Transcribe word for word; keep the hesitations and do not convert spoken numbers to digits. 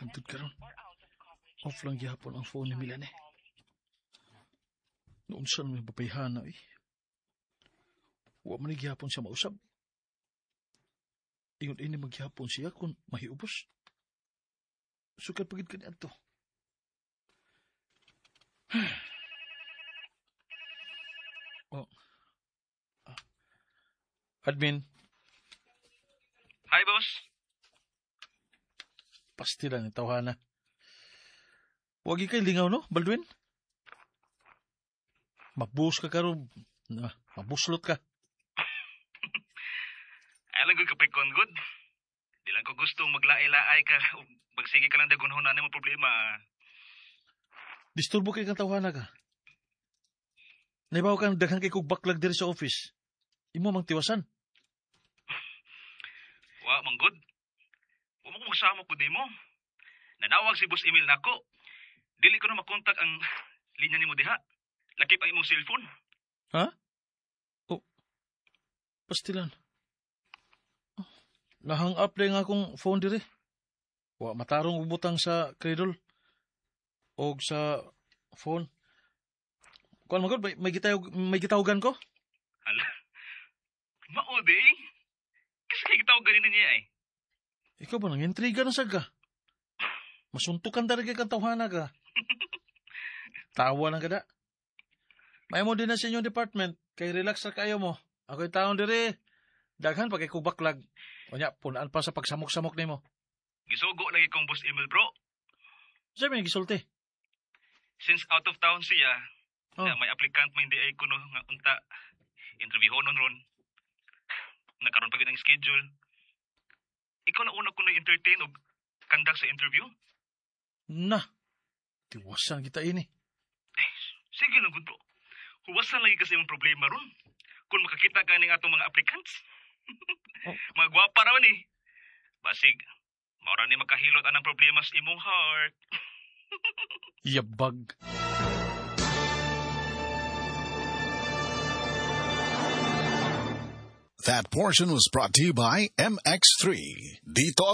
Hangtod karon, off lang gihapon ang phone ni Melanie. Naunsa man yung babayhana eh. Wa man ni gihapon siya mausab. Ingon ini maghapon siya kung mahiubos. Sukad pa gyud kaniadto. Oh. Ah. Admin, Hi, boss. Pastila ni tawhana. Wagi kay lingaw no, Baldwin? Mabus ka karon, na, mabuslot ka. Ay lang gud kapay kon good. Di lang ko gustong maglaay-laay ka ug magsige ka lang dagunhon na mo problema. Disturbo kay kang tawhana ka. Naibaw kang daghan kay kog backlog diri sa office. Imo mang tiwasan. Wa man good. Wa mo ko magsama ko nimo. Nanawag si Boss Emil nako. Dili ko na makontak ang linya nimo diha. Lakip ang imong cellphone. Ha? Oh. Pastilan. Oh, nahang up lang akong phone diri. Wa matarong og butang sa cradle og sa phone. Kuan man gud, may, may gitawag may gitawagan ko. Hala. Mao di. Kasi kay gitawag ganin niya eh. Ikaw ba nang intriga na sad ka? Masuntukan talaga kang tawhana ka. Tawa lang kada. May mo din na sa inyong department, kay relax ra kayo mo. Ako'y taon diri. Daghan pa kay kog backlog. Unya, punaan pa sa pagsamok-samok nimo. Gisugo lagi kong Boss Emil bro. Sa may gisulti. Since out of town siya, Oh. na may applicant may hindi ay kuno nga unta interviewhonon ron. Nakaroon pa gyud ang schedule. Ikaw na una ko na entertain og conduct sa interview. Na, tiwasan kita ini. Ay, sige lang gud bro. Huwasan lagi kasi imong problema ron. Kung makakita ka ning atong mga applicants. Oh. Mga gwapa raman eh. Basig, maura ni makahilot anang problema sa imong heart. Yabag. That portion was brought to you by M X three. Dito